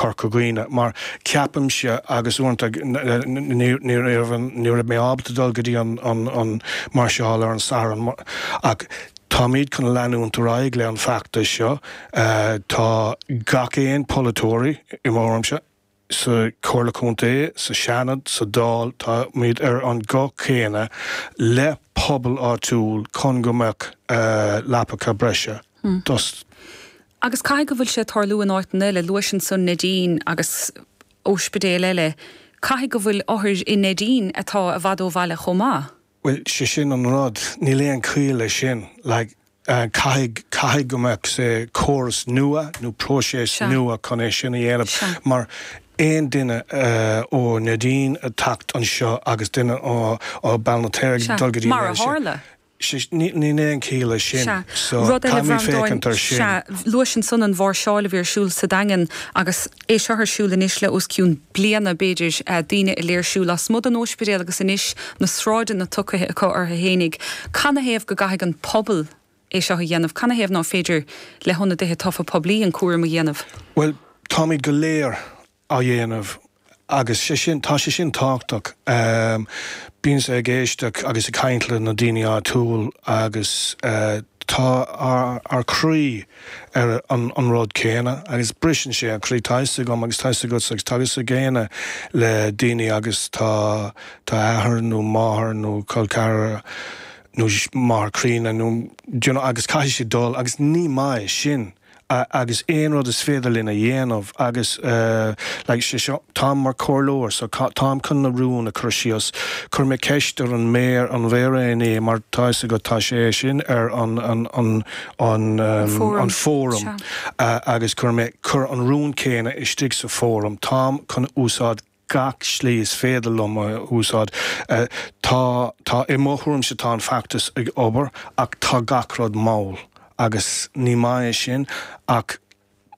Corca Dhuibhne mar ceapaimse agus uaireanta ní raibh ní raibh mé ábalta dul go dtí an an máirseáil ar an Satharn ach táimid chun leanúint ar aghaidh le an feachtas seo. Tá gach aon polaiteoirí i mo thuairimse sa Chomhairle Contae, sa Seanad, sa Dáil, táimid ar an guth céanna le pobal áitiúil chun go mbeadh leapacha breise dos Agus caithfidh go bhfuil sé ag tarlú in áiteanna eile, luais ansan Neidín agus óispidéil eile, caithfidh go bhfuil othair i Neidín atá i bhfad ó bhaile chomh maith. Bhuel, sé sin an rud, níl aon chiall leis sin. Like, caithfidh, caithfidh go mbeadh, say, córas nua nó próiseas nua chun é sin a dhéanamh mar aon duine ó Neidín ag teacht anseo agus duine ó Béal an Feirste ag dul go dtí Mar a tharla. Níl aon chiall leis sin. Sea. So, Rud eile, caithfimid a Bhreandáin, féachaint ar sin. sea, luais ansan an mháirseáil a bhí ar siúl sa Daingean agus é seo ar siúl anois le os cionn bliana, b'fhéidir, daoine ag léirsiú lasmuigh den óispidéal agus anois na sráideanna tugtha acu orthu fhéinig. Canathaobh go gcaithfidh an pobal é seo a dhéanamh? Canathaobh ná féidir le hionadaithe tofa poiblí an cúram a dhéanamh? Bhuel, táimid go léir á dhéanamh agus sé sin, tá sé sin tábhachtach. Bímse ag éisteacht agus ag caint le na daoine áitiúil agus tá ár croí ar an rud céanna agus briseann sé an croí, tá fhios agam agus tá fhios agatsa agus tá fhios ag éinne le daoine agus tá tá athair nó máthair nó col ceathrar nó máthair críonna nó do you know agus caithfidh siad dul agus ní maith sin. agus aon rud is féidir linn a dhéanamh agus like sé seo, táim mar comhairleoir so táim chun na rúin a chur síos, chuir mé ceist ar an méara, an mhéara inné mar tá fhios agat tá sé sin ar an an an an an fóram agus chuir mé, chuir an rún céanna istigh sa fóram, táim chun úsáid gach slí is féidir liom a úsáid. Tá, tá, i mo thuairimse tá an feachtas ag obair ach tá gach rud mall agus ní maith é sin ach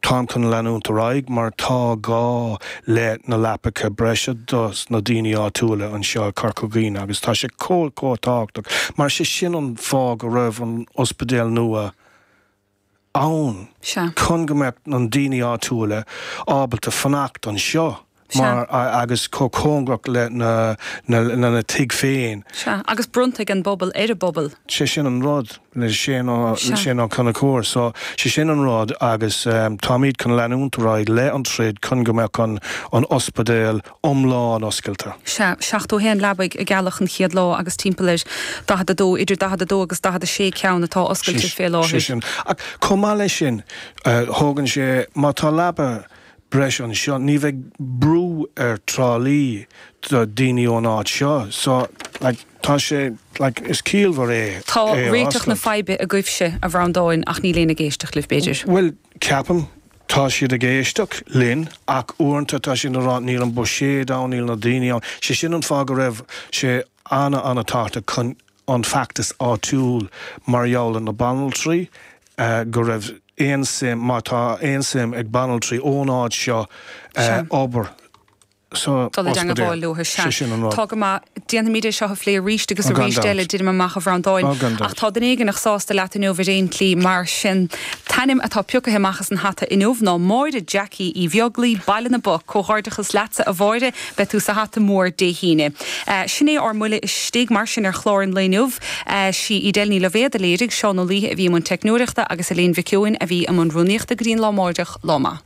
táim chun leanúint ar aghaidh mar tá gá le na leapacha breise dos na daoine áitiúla anseo i Corca Dhuibhne agus tá sé chomh, chomh tábhachtach mar sé sin an fáth go raibh an ospidéal nua ann chun go mbeadh na daoine áitiúla ábalta fanacht anseo mar agus chomh cóngarach le na na tigh féin. Sea, agus bronnta ag an bpobal ar an bpobal. Sé sin an rud le Shane Ó le Shane Ó Conchúir. So, sé sin an rud agus táimid chun leanúint ar aghaidh le an troid chun go mbeadh an an ospidéal iomlán oscailte. Sea, 71 leabaidh i gCeallach an chéad lá agus timpeall ar 42, idir 42 agus 46 ceann atá oscailte fé láthair. Sé sin. Ach chomh maith leis sin, thógann sé, má tá leaba breise anseo, ní bheidh brú ar Trá Lí do daoine ón áit seo. So, like, tá sé, like, is ciallmhar é Tá é a réiteach na oscailt. faidhbe agaibhse, a Bhreandáin, ach níl éinne ag éisteacht libh, b'fhéidir. Bhuel, ceapaim, Tá siad ag éisteacht linn ach uaireanta tá siad ag rá níl an buiséad ann, níl na daoine ann. Sé sin an fáth go raibh sé ana-ana-tábhachtach chun an feachtas áitiúil mar gheall ar na banaltraí, go raibh aon suim, má tá aon suim ag banaltraí ón áit seo obair. sa Dul i ospidéal. dteangmháil leo, sea. Sé sin an rud. Tá go maith. Déanfaimid é seo a phlé arís agus Gan arís dabht. eile, deinim amach, a Bhreandáin. Á, gan Ach dabht. tá duine éigin sásta leat inniu ar aon tslí, mar sin. An t-ainm atá pioctha amach as an hata inniu ná Máire Jackie Uí Bheaglaoi, Baile na bPoc. Comhghairdeachas leatsa, a Mháire. Beidh tú sa hata mór Dé hAoine. Sin é ár mbuille istigh, mar sin, ar chlár an lae inniu. Sí Edel Ní Loibhéad a léirigh, Seán Ó Laoithe a bhí i mbun teicneoireachta agus Elaine Mhic Eoin a bhí i mbun rúnaíochta go dtí an lá amáireach. Lá maith.